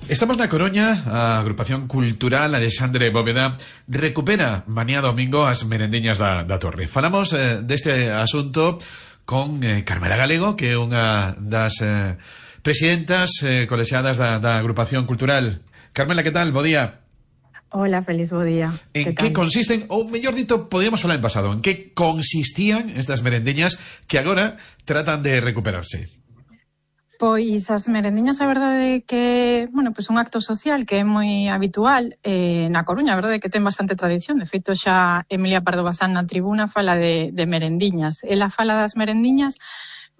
Estamos na Coruña, a agrupación cultural Alexandre Bóveda recupera mañá domingo as merendiñas da Torre. Falamos deste asunto con Carmela Galego, que é unha das presidentas colexiadas da agrupación cultural. Carmela, que tal? Bo día. Hola, feliz bo día. En que consisten, ou mellor dito, podíamos falar en pasado, en que consistían estas merendiñas que agora tratan de recuperarse? Pois as merendiñas, a verdade é que, bueno, pois un acto social que é moi habitual na Coruña, a verdade é que ten bastante tradición. De feito, xa Emilia Pardo Bazán na tribuna fala de merendiñas. Ela fala das merendiñas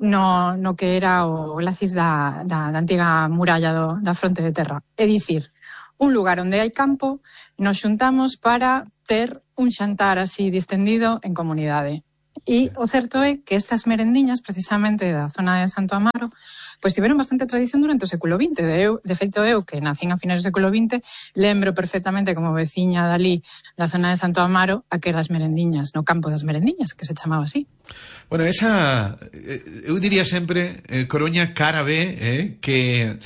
no que era o lacis da antiga muralla da fronte de terra. É dicir, un lugar onde hai campo, nos xuntamos para ter un xantar así distendido en comunidade. E o certo é que estas merendiñas, precisamente da zona de Santo Amaro, pois tiveron bastante tradición durante o século XX. De feito, eu, que nacín a finais do século XX, lembro perfectamente como veciña dali da zona de Santo Amaro aquelas merendiñas, no campo das merendiñas, que se chamaba así. Bueno, esa, eu diría sempre, Coruña cara B, que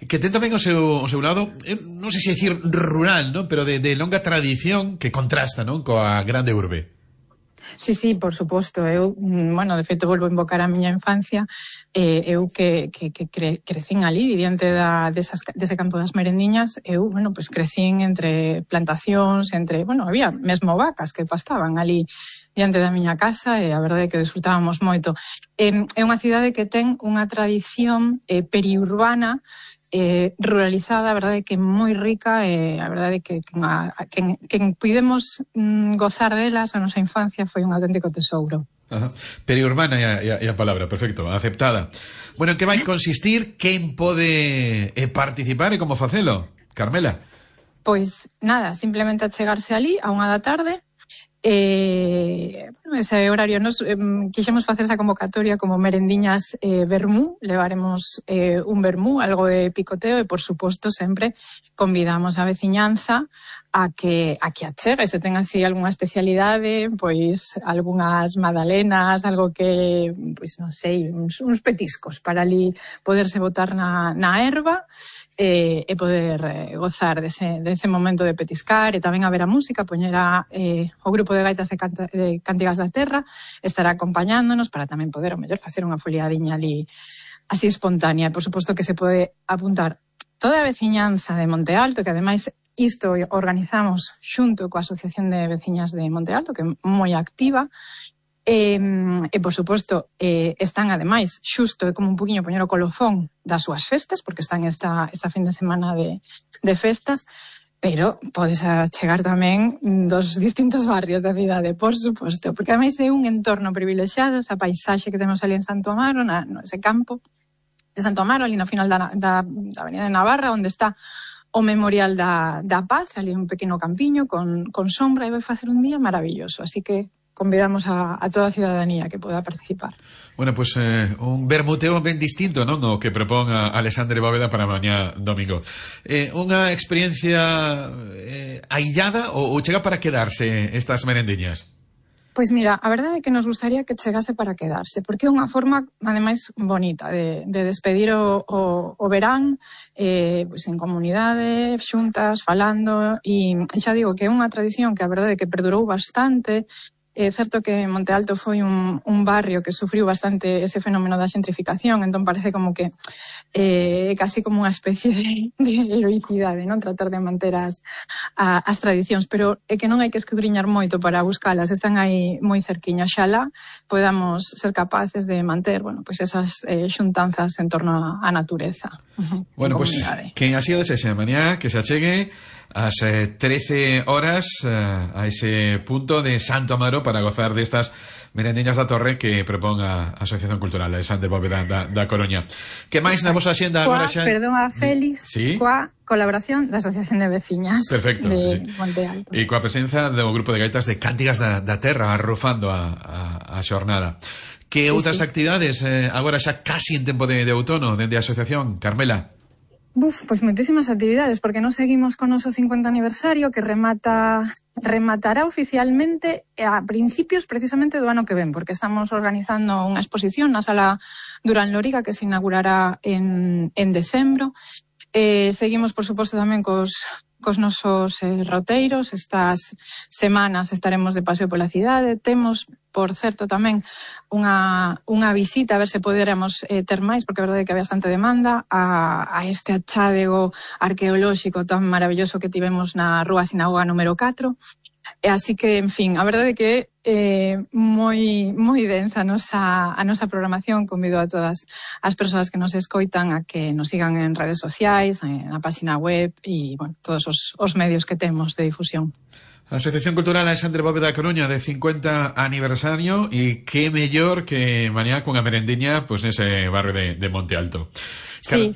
ten tamén o seu lado, non sei se dicir rural, ¿no? Pero de longa tradición que contrasta, ¿no? Coa grande urbe. Sí, por suposto. Eu, bueno, de feito, volvo a invocar a miña infancia. Eu que crecín ali, diante dese campo das merendiñas, eu, bueno, pues crecín entre plantacións, bueno, había mesmo vacas que pastaban ali diante da miña casa, e a verdade é que disfrutábamos moito. É unha cidade que ten unha tradición periurbana, ruralizada, a verdade é que moi rica, e a verdade é que quen pudemos gozar delas a nosa infancia foi un auténtico tesouro. Ajá. Periurbana e a palabra, perfecto, aceptada. Bueno, en que vai consistir? Quen pode participar e como facelo? Carmela? Pois nada, simplemente achegarse ali a 1 da tarde. Ese horario nos quixemos facer esa convocatoria como merendiñas vermú. Levaremos un vermú, algo de picoteo, e por suposto sempre convidamos a veciñanza a que achegue, se ten así algunha especialidade, pois algunhas magdalenas, algo que, pois non sei, uns petiscos para ali poderse botar na erva e poder gozar dese momento de petiscar, e tamén haber a música, poñera o grupo de gaitas de Cántigas da Terra estará acompañándonos para tamén poder, o mellor, facer unha foliadiña ali así espontánea. E por suposto que se pode apuntar toda a veciñanza de Monte Alto, que ademais isto organizamos xunto coa Asociación de Veciñas de Monte Alto, que é moi activa. E por suposto están ademais xusto é como un poquinho poñer o colofón das súas festas, porque están esta fin de semana de festas, pero podes chegar tamén dos distintos barrios da cidade, por suposto, porque ademais é un entorno privilexiado, esa paisaxe que temos ali en Santo Amaro, ese campo de Santo Amaro, ali no final da Avenida de Navarra, onde está o Memorial da Paz, ali un pequeno campiño con sombra, e vai facer un día maravilloso, así que convidamos a toda a cidadanía que poda participar. Bueno, pues un vermuteo ben distinto, non? O que propón a Alexandre Bóveda para mañá domingo. Unha experiencia aillada ou chega para quedarse estas merendiñas? Pois mira, a verdade é que nos gustaría que chegase para quedarse, porque é unha forma, ademais, bonita de despedir o verán, pois en comunidade, xuntas, falando, e xa digo que é unha tradición que a verdade é que perdurou bastante. É certo que Monte Alto foi un barrio que sufriu bastante ese fenómeno da xentrificación, entón parece como que casi como unha especie de heroicidade, non, tratar de manter as tradicións, pero é que non hai que escudriñar moito para buscalas, están aí moi cerquiña. Xalá podamos ser capaces de manter, bueno, pois esas xuntanzas en torno á natureza. Bueno, pois quen así o desexe, mañá que se achegue ás 13 horas a ese punto de Santo Amaro para gozar destas merendiñas da Torre que propón a Asociación Cultural Alexandre Bóveda da Coruña. Que máis na vosa axenda agora xa? Perdón, Félix, ¿sí? Coa colaboración da Asociación de Veciñas. Perfecto, de sí. Monte Alto. E coa presenza do grupo de gaitas de Cántigas da Terra arrufando a xornada. Que outras actividades agora xa casi en tempo de outono dende a Asociación, Carmela? Pois moitísimas actividades, porque nos seguimos con o noso 50 aniversario que rematará oficialmente a principios precisamente do ano que ven, porque estamos organizando unha exposición na Sala Durán Lóriga que se inaugurará en decembro. Seguimos, por suposto, tamén cos nosos roteiros. Estas semanas estaremos de paseo pola cidade. Temos, por certo, tamén unha visita, a ver se poderemos ter máis, porque a verdade é que hai bastante demanda a este achádego arqueolóxico tan maravilloso que tivemos na Rúa Sinagoga número 4. Así que, en fin, a verdade é que moi densa a nosa programación. Convido a todas as persoas que nos escoitan a que nos sigan en redes sociais, na página web e, bueno, todos os medios que temos de difusión. A Asociación Cultural Alexandre Bóveda da Coruña de 50 aniversario, e que mellor que mañá cunha merendiña pois nese barrio de Monte Alto. Sí.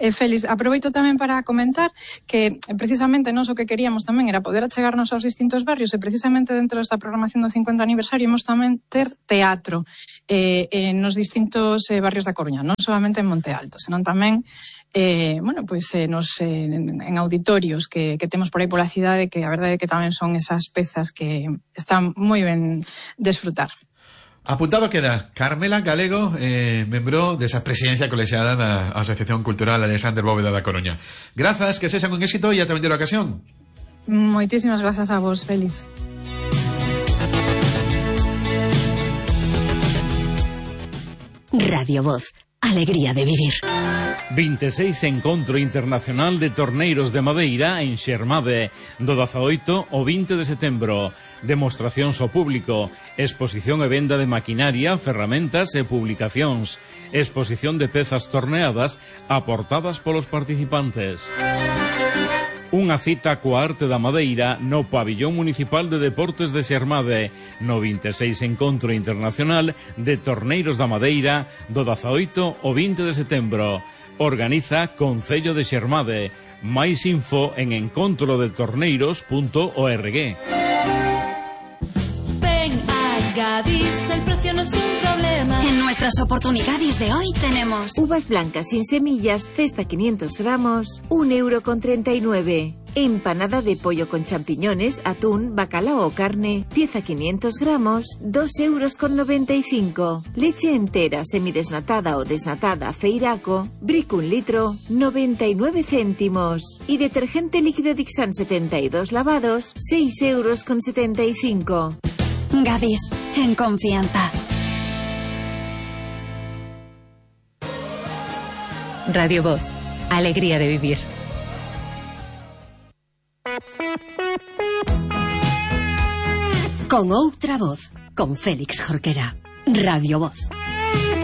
Félix, aproveito tamén para comentar que precisamente nós o que queríamos tamén era poder achegarnos aos distintos barrios, e precisamente dentro desta programación do 50 aniversario imos tamén ter teatro nos distintos barrios da Coruña, non solamente en Monte Alto, senón tamén en auditorios que temos por aí pola cidade, que a verdade é que tamén son esas pezas que están moi ben desfrutar. Apuntado queda Carmela Galego, membro desa presidencia colexiada da Asociación Cultural Alexandre Bóveda da Coruña. Grazas, que sexan un éxito e ata vendera ocasión. Moitísimas grazas a vos, Félix. Radio Voz, alegría de vivir. 26 Encontro Internacional de Torneiros de Madeira en Xermade, do 18 ao 20 de setembro. Demostracións ao público, exposición e venda de maquinaria, ferramentas e publicacións, exposición de pezas torneadas aportadas polos participantes. Unha cita coa arte da madeira no Pabillón Municipal de Deportes de Xermade, no 26 Encontro Internacional de Torneiros da Madeira, do 18 ao 20 de setembro. Organiza Concello de Xermade. Máis info en encontrodetorneiros.org. Ven a Gadis, el precio no es un problema. En nuestras oportunidades de hoy tenemos uvas blancas sin semillas, cesta 500 gramos, 1,39 €. Empanada de pollo con champiñones, atún, bacalao o carne, pieza 500 gramos, 2,95 €. Leche entera, semidesnatada o desnatada, Feiraco, Brick 1 litro, 99 céntimos. Y detergente líquido Dixan 72 lavados, 6,75 €. Gadis, en confianza. Radio Voz, alegría de vivir. Con outra voz, con Félix Jorquera. Radio Voz.